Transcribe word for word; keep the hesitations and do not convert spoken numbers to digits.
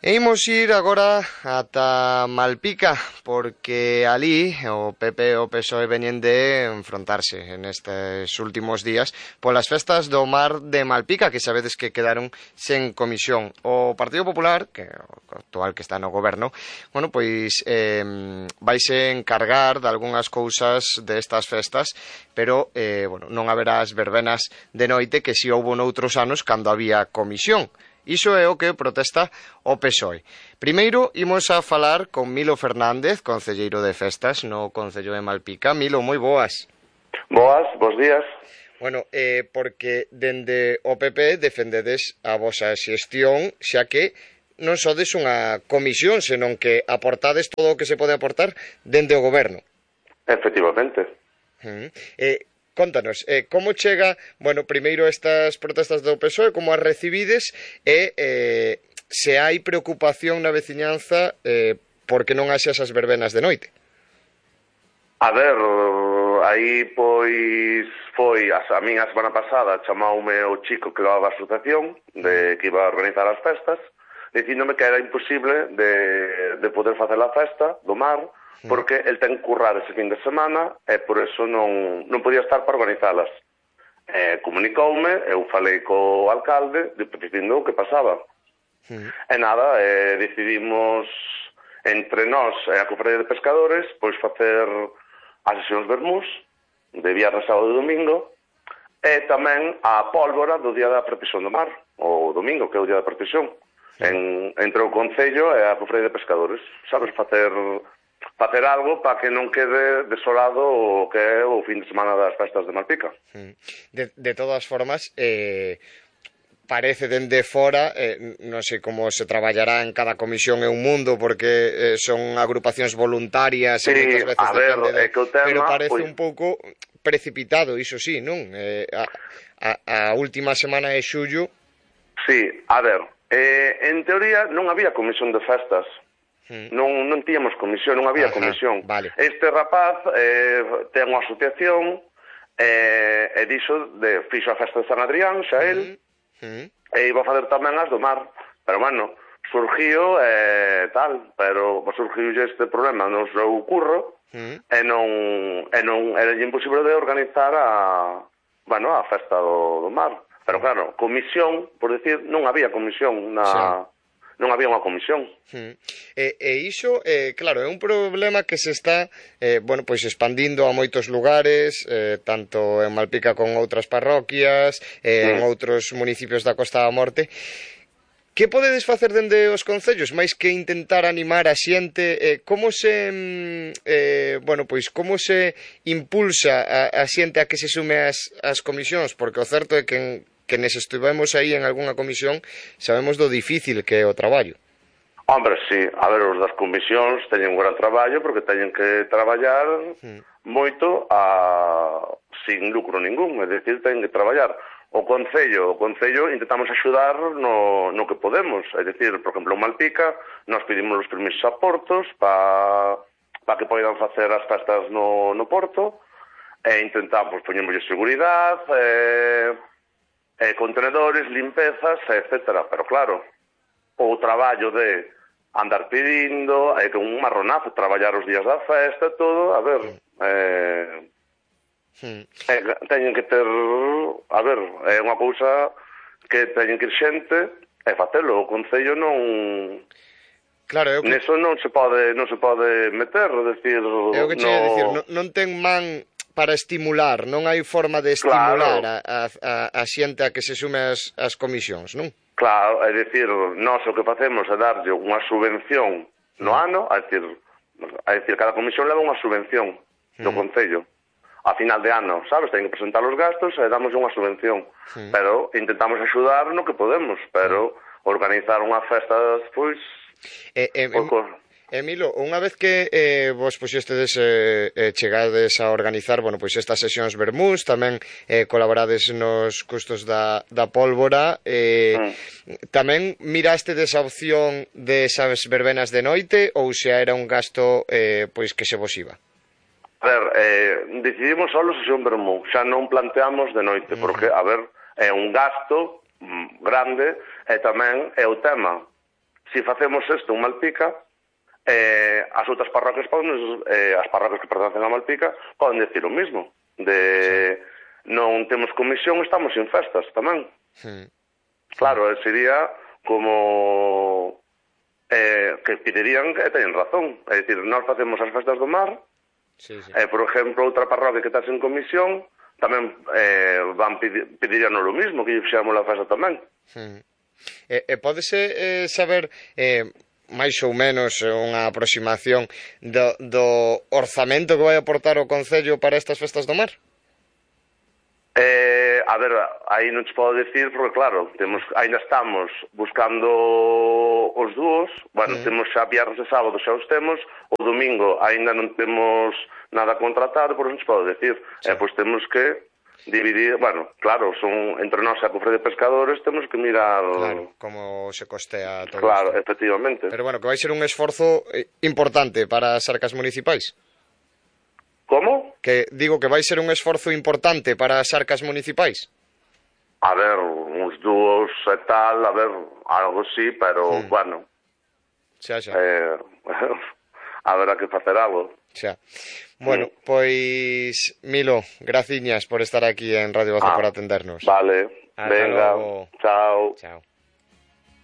E imos ir agora ata Malpica, porque ali o P P e o P S O E veñen de enfrontarse nestes últimos días polas festas do Mar de Malpica, que sabedes que quedaron sen comisión. O Partido Popular, que o actual que está no goberno, bueno, pois eh, vaise encargar de algunhas cousas destas festas, pero eh, bueno, non haberá as verbenas de noite que si houbo noutros anos cando había comisión. Iso é o que protesta o P S O E. Primeiro, imos a falar con Milo Fernández, concelleiro de festas no Concello de Malpica. Milo, moi boas. Boas, bos días. Bueno, eh, porque dende o P P defendedes a vosa xestión, xa que non sodes unha comisión, senón que aportades todo o que se pode aportar dende o goberno. Efectivamente. Uh -huh. Eh, Contanos, eh, como chega, bueno, primeiro estas protestas do P S O E, como as recibides e eh, se hai preocupación na veciñanza eh, porque non haxe esas verbenas de noite? A ver, aí pois foi, a, a min a semana pasada chamaume o chico que levaba a asociación de que iba a organizar as festas, dicíndome que era imposible de, de poder facer a festa do mar, porque el ten que currar ese fin de semana e por eso non, non podía estar para organizalas. Eh, comunicoume, eu falei co alcalde dicindo o que pasaba. Mm. E nada, eh, decidimos entre nós e a Cofradía de Pescadores pois facer as sesións vermús de viernes, sábado e domingo e tamén a pólvora do día da procesión do mar, o domingo, que é o día da procesión. Mm. En, entre o Concello e a Cofradía de Pescadores. Sabes, facer... facer algo para que non quede desolado o que é o fin de semana das festas de Malpica. De, de todas formas, eh, parece dende fora, eh, non sei como se traballará en cada comisión é un mundo, porque eh, son agrupacións voluntarias, sí, e moitas veces a ver, depende de, é que o tema, pero parece pues... un pouco precipitado, iso sí, non? Eh, a, a, a última semana de xullo... Sí, a ver, eh, en teoría non había comisión de festas. Hmm. Non, non tíamos comisión, non había Ajá, comisión. Vale. Este rapaz eh, ten unha asociación eh, e dixo de, fixo a festa de San Adrián, xa el, hmm. Hmm. e iba a fazer tamén as do mar. Pero, bueno, surgiu e eh, tal, pero surgiu este problema no seu curro hmm. e non, e non era imposible de organizar a, bueno, a festa do, do mar. Pero, claro, comisión, por decir, non había comisión na... Sí. Non había unha comisión. Hmm. E, e iso, eh, claro, é un problema que se está eh, bueno, pois expandindo a moitos lugares, eh, tanto en Malpica con outras parroquias, eh, hmm. en outros municipios da Costa da Morte. Que podedes facer dende os concellos, máis que intentar animar a xente? Eh, como se eh, bueno, pois como se impulsa a, a xente a que se sume ás, ás comisións? Porque o certo é que en quenes estivemos aí en algunha comisión sabemos do difícil que é o traballo. Hombre, sí, a ver, os das comisións teñen un gran traballo porque teñen que traballar hmm. moito a... sin lucro ningún, é dicir, teñen que traballar. O Concello, o Concello intentamos axudar no, no que podemos, é dicir, por exemplo, en Malpica nos pedimos os permisos a portos para pa que poidan facer as festas no, no porto e intentamos, poñemos seguridade, e... Eh, contenedores, limpezas, etcétera. Pero claro, o traballo de andar pedindo, é eh, que un marronazo, traballar os días da festa, todo, a ver, eh, mm. eh, teñen que ter, a ver, é unha cousa que teñen que ir xente e facelo, o Concello non... Claro, eu que... Neso non se pode, non se pode meter, decir... Eu que che no... decir, non, non ten man... para estimular, non hai forma de estimular claro. a, a, a xente a que se sume as, as comisións, non? Claro, é dicir, nós o que facemos é darlle unha subvención no mm. ano, é dicir, é dicir, cada comisión leva unha subvención do mm. Concello. A final de ano, sabes, ten que presentar os gastos e damos unha subvención. Mm. Pero intentamos axudar no que podemos, pero mm. organizar unha festa, pois... Eh, eh, pouco... Emilio, unha vez que eh, vos puxestedes eh, eh, chegades a organizar, bueno, pois estas sesións vermús, tamén eh, colaborades nos custos da, da pólvora, eh, mm. tamén mirastedes a opción de esas verbenas de noite ou xa era un gasto eh, pois que se vos iba? A ver, eh, decidimos só sesión vermú, xa non planteamos de noite, mm. porque, a ver, é un gasto mm, grande e tamén é o tema. se facemos isto en Malpica, eh, as outras parroquias poden, eh, as parroquias que pertencen a Malpica poden decir o mismo, de sí. Non temos comisión, estamos sin festas tamén. Sí. Claro, sería como eh, que pedirían que teñen razón, é dicir, nós facemos as festas do mar, sí, sí. Eh, por exemplo, outra parroquia que está sin comisión tamén eh, van pedir, pedirían o mismo, que lle fixéramos a festa tamén. Sí. E, e pódese eh, saber eh, máis ou menos unha aproximación do, do orzamento que vai aportar o Concello para estas festas do mar? Eh, a ver, aí non te podo decir porque claro, temos, ainda estamos buscando os dúos, bueno, mm. temos xa viernes e sábado xa os temos, o domingo ainda non temos nada contratado, por non te podo decir, sí. eh, pois temos que dividir, bueno, claro, son entre nós a cofre de pescadores, temos que mirar... Claro, como se costea todo Claro, isto. Efectivamente. Pero bueno, que vai ser un esforzo importante para as arcas municipais. Como? Que digo que vai ser un esforzo importante para as arcas municipais. A ver, uns dúos e tal, a ver, algo sí, pero, hmm. bueno... Xa, xa. Eh, haberá que facer algo. Xa. Bueno, mm. pois, Milo, graciñas por estar aquí en Radio Voz ah, por atendernos. Vale, Hasta venga, luego. Chao. Chao.